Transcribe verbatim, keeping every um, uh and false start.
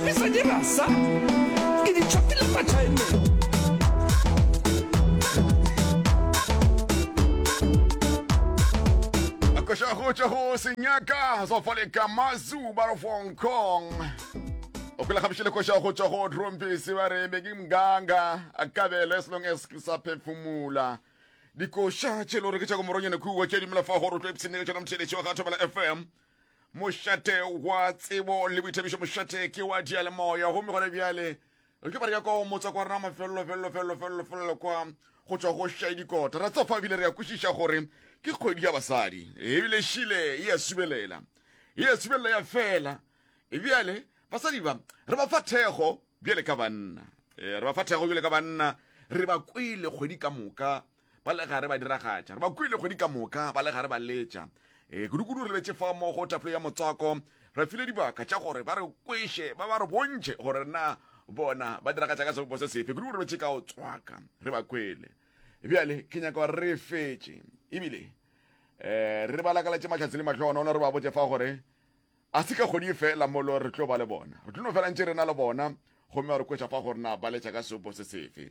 Ke sa dira sa ke di tšhopile kwa China. Koša go tšwa go senyaka sofaleka mazu ba re Hong Kong o kwela gabišile koša go tšwa go Trompisi ba re be ke mganga a kabelo as long as ke sa phefumula dikoša tše le gore ke tša go moronyane kua tše dimela fa gore o tlo ipshinele tšona motheletši wa ga Thobela F M Mošate wa tsebo le boithabišo, mošate ke wa diyalemoya. Gomme gona bjale re tlo ba re ya kwa motswako wa rena mafelelo felelo felelo felelo felelo kwa go tšwa go šai dikota. Ra tsofa ebile re ya kwešiša gore ke kgwedi ya basadi, ebile šile e a subelela, e a subelela ya fela. Bjale basadi ba re ba fa thekgo bjale ka banna, re ba fa thekgo bjale ka banna. Re ba kwele kgwedi ka moka ba le gare ba diragatša, re ba kwele kgwedi ka moka ba le gare ba letša. E, kudu-kudu re lebetše fa mo go tafole ya motswako, re file dibaka tša gore ba re kweše, ba ba re bontšhe gore na bona ba diragatša ka sebopo se sefe. Kudu-kudu re lebetše ka go tswaka, re ba kwele. Bjale ke nyaka gore re fetše ebile um re ba lakaletše mahlatse le mahlogonono, re ba botše fa gore a se ka kgwedi e fela molo re tlo ba le bona, re tlo no fela ntše re na le bona, gomme ba re kweša fa gore na ba letša ka sebopo se sefe.